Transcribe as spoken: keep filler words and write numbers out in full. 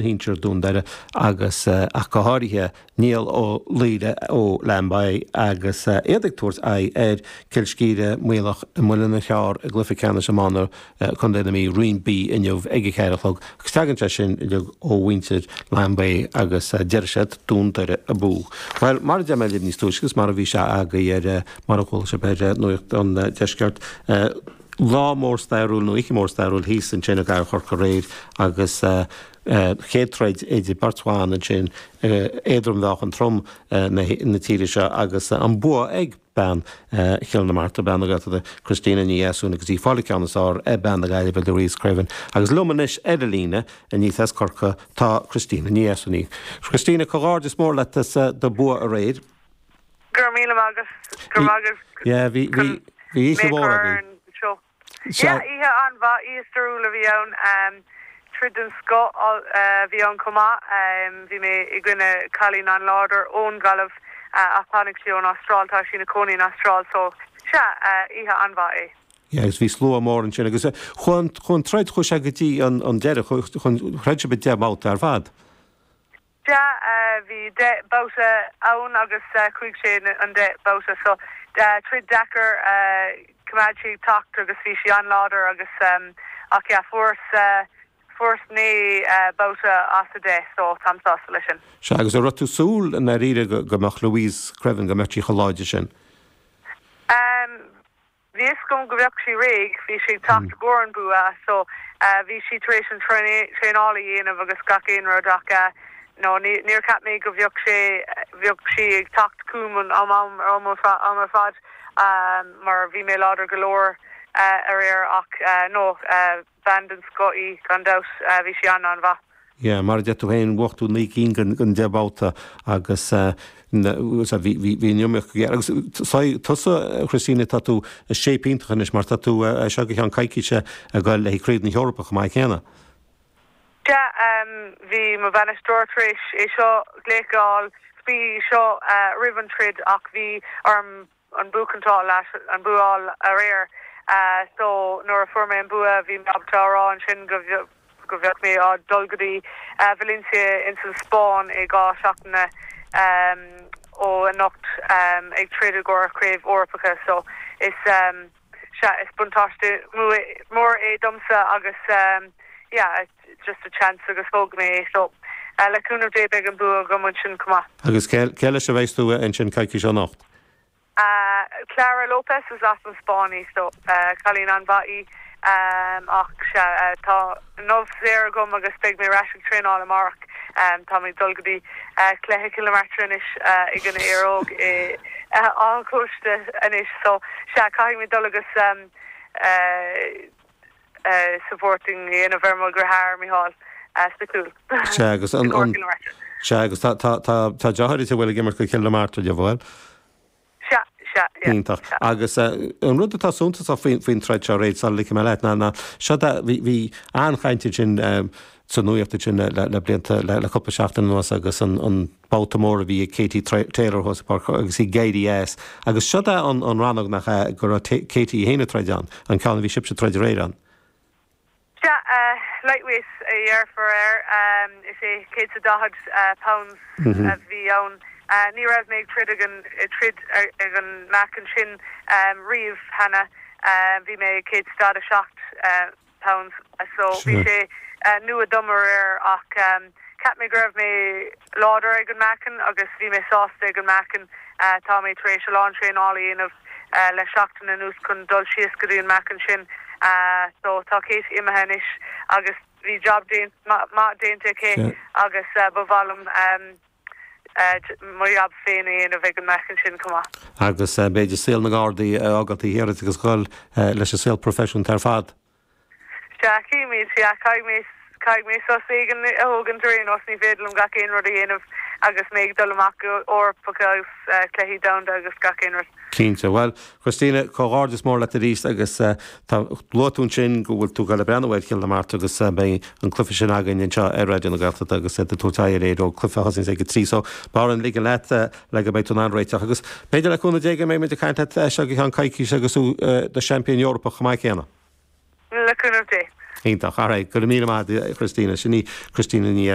shinsir Dún Doire agus ach go háirithe Niall Ó Laoire ó Lambay agus iad ag tabhairt aghaidh ar Cill Scíre Muileach i Muileann an Chearr i gcluiche ceannais iomána Contae na Mí Roinn B inniu ag a ceathair a chlog agus tagann sé sin uilig ó mhuintir Lambay agus deir siad Dún Doire abú. Well mar a deir mé libh níos túisce agus mar a bhí sé agaibh ar mar a chuala sibh ar Nuacht an Deiscirt lá mór stairiúil nó oíche mór stairiúil thíos ansin i gCathair Chorcaí aréir agus chéad troid idir beirt bhan ansin éadrom-mheáchan trom na tíre seo agus an bua ag bean Chill na Martra, bean na Gaeltachta Christina Ní Dheasún agus í ag fáil an ceann is fearr ar bean na Gaillimhe Louise Creaven. Agus liom anois ar an líne aníos as Corcaigh tá Christina Ní Dheasún. Christina, comhghairdeas mór leat as do bua aréir. Go raibh míle maith agat. Go raibh maith agat. Yeah, bhí bhí bhí oíche mhór agaibh. Yeah, oíche an-mhaith, oíche stairiúil a bhí ann. Troid den scoth a bhí ann chomh maith. Bhí mé i gcoinne cailín an-láidir ón Ghaillimh ach tháinig sí ón Astráil, tá sí ina cónaí in Astráil so sea, oíche an-mhaith é. Yeah, agus bhí slua mór ansin agus chuaigh an chuaigh an troid chuaigh sé go dtí an an deireadh, throid sibh deich mbabhta ar fad. Sea, bhí deich babhta ann agus chuaigh sé an deich babhta so troid deacair, choimeád sí ag teacht agus bhí sí an-láidir agus ach yeah fuaireas fuaireas naoi babhta as a deich so táim sásta leis sin. Sea, agus an raibh tú ag súil i ndáiríre go go mbeadh Louise Creaven go mbeadh sí chomh láidir sin? Bhí fhios agam go bheadh sí réidh, bhí sí ag teacht i gcomhair an bua so bhí sí tar éis an traenáil a dhéanamh agus gach aon rud ach no níor cheap mé go bheadh sé bheadh sí ag teacht chugam an am am am ar fad mar bhí mé láidir go leor aréir ach no bean den scoth í gan dabht bhí sí an-an-mhaith. Yeah, mar a deir tú féin, bhuaigh tú naoi gcinn den deich mbabhta agus bhí bhí an iomaíocht go géar. Agus tusa, Christina, tá tú i shape iontach anois mar tá tú seo go ceann coicíse ag dul le Craobh na hEorpa chomh maith céanna. Sea, bhí mo bhainisteoir tar éis é seo glaoch a fháil faoi seo roimh an troid ach bhí orm an buachaint an bua a fháil aréir so nuair a fuair mé an bua bhí mé ábalta a rá ansin go go bheadh mé á dul go dtí Valencia ins an Spáinn i dhá seachtaine ó anocht ag troid i gcomhair craobh Eorpacha so is sea is buntáiste mór é domsa agus yeah just a chance agus thóg mé é so le cúnamh Dé beidh an bua agam ansin chomh maith. Agus cé leis a bheidh tú ansin coicís ó anocht? Clara Lopez is as an Spáinn í so cailín an-mhaith í ach sea tá inniu saor agam agus beidh mé ar ais ag traenáil amárach. Tá mé ag dul go dtí cluiche Chill na Martra anois i gcoinne Éire Óg i Áth an Chóiste anois so sea caithfidh mé dul agus supporting a dhéanamh ar mo dheartháir Micheál sa chúl. Sea agus an Sea agus tá tá tá deartháir a bhfuil ag imirt go Cill na Martra, bhfuil? Sea, sea, yeah. Iontach. Agus an rud atá suntasach faoin faoin troid seo aréir sula ligfidh mé leat ná ná seo bhí bhí an-chaint ansin sa nuacht ansin le le blianta le le cúpla seachtain anuas agus an an babhta mór a bhí ag Katie Taylor thuas i bPáirc agus í ag éirí as. Agus seo é an an rannóg nach ea go raibh Katie féin ag troid ann, an ceann a bhí sibhse ag troid aréir ann. Sea, lightweight a dhéarfar air. Is é céad is daichead pounds a bhí ann. Ní raibh mé ag troid ag an troid ag an meáchan sin riamh cheana. Bhí mé ag céad is daichead a seacht pounds so bhí sé nua dom aréir ach cheap mé go raibh mé láidir ag an meáchan agus bhí mé sásta ag an meáchan. Tá mé tar éis a lán traenála a dhéanamh le seachtain anuas chun dul síos go dtí an meáchan sin. So tá Katie imithe anois agus bhí job maith déanta aici agus ba mhaith liom mo jab féin a dhéanamh ag an meáchan sin chomh maith. Agus b'fhéidir saol na nGardaí a fhágáil taobh thiar agus dhul leis an saol proifisiúnta ar fad. Sea, címid, sea, caithfidh mé caithfidh mé sos éigin a thógaint ar aon nós, ní féidir liom gach aon rud a dhéanamh agus mé ag dul amach go Eorpacha agus cluichí domhanda agus gach aon rud. Cinnte. Bhuel, Christina, comhghairdeas mór leat arís agus tá luaigh tú ansin go bhfuil tú ag dul ag breathnú ar Chill na Martra agus beidh an cluiche sin againn anseo ar Raidió na Gaeltachta agus iad ag tabhairt aghaidh ar Éire Óg, cluiche a thosaíonn ag a trí so b'fhearr an ligean leat le go mbeidh tú in ann réiteach agus b'fhéidir le cúnamh Dé go mbeidh muid ag caint leat seo go ceann coicíse agus tú do seaimpín Eorpach chomh maith céanna. Le cúnamh Dé. Iontach, alright, go raibh míle maith Christina, sin í Christina Ní